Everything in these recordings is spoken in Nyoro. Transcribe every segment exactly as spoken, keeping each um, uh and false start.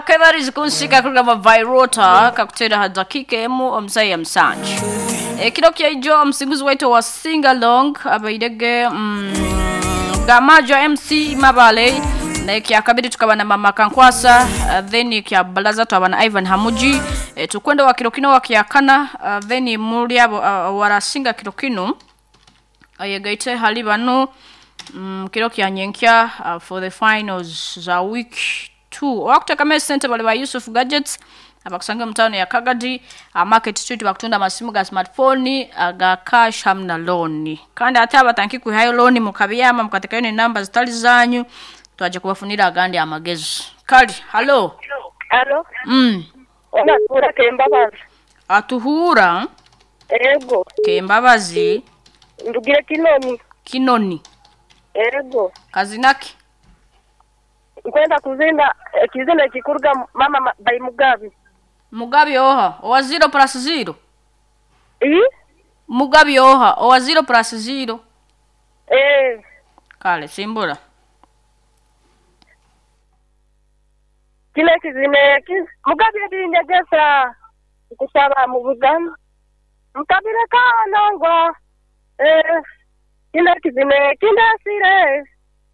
Kebarizi kunsika kugamba Virota kakutera ha dakika emu omusaya musanju. Ekiro kyaijo omusinguzi waitu wa sing along abairege mm, Gamajo M C Mabale na kyakabiri tukaba na Mama Kankwasa, uh, then kya balaza twaba na Ivan Hamuji. E, tukwenda wa kiro kino wa kyakana, uh, then muri abo uh, warasinga kiro kino ayegaite hali bano mm, kiro kya nyenkya uh, for the finals za week two. Wakuteka sente bali ba Yusuf Gadgets abakusanga mutano ya Kagadi uh, Market Street bakutunda amasimu ga smartphone aga cash hamna loan. Kandi ate abatanki kuhayo loan mukabiyama mukatekayo ne namba zitali zanyu twaje kubafunira agandi amagezi. Kali, hello. Hello. Mm. Onatura Kembabazi. Atuhura Ego. Kembabazi. Ndugire Kinoni. Kinoni. Ego. Kazinaki. Nkwenda kuzinda ekizina ekikuruga mama ma, by Mugabe. Mugabe oha owa zero plus zero. Eh? Mugabe oha owa zero plus zero. Eh. Kale simbura. Kile kizina kiz Mugabe ebinyegesa kusaba mu Buganda. Mukabire kanangwa. Eh. Kile kizina kindasire.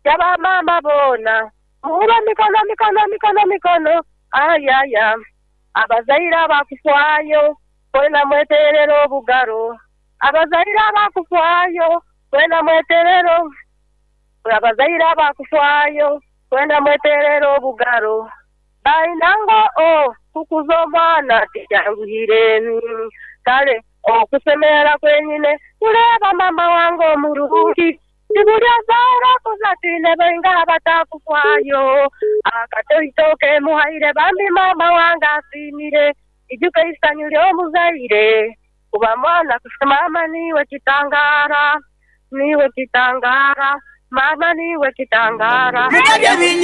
Yaba mama bona. Muba mikono mikono mikono mikono ayaya abazaira abakufwayo kwena mweterero obugaro abazaira abakufwayo kwena mweterero abazaira abakufwayo kwena mweterero obugaro bainango o kukuza omwana tikyanguhire kale okusemera kwenyine kuleba mama wange omurungi Tibulya zaara kuzatine benga batakufwayo akatoitoke muhaire bambi mama wange asimire ijuke isanyu lyomuzaire kuba mwana mama niwe kitangara niwe kitangara mama niwe kitangara.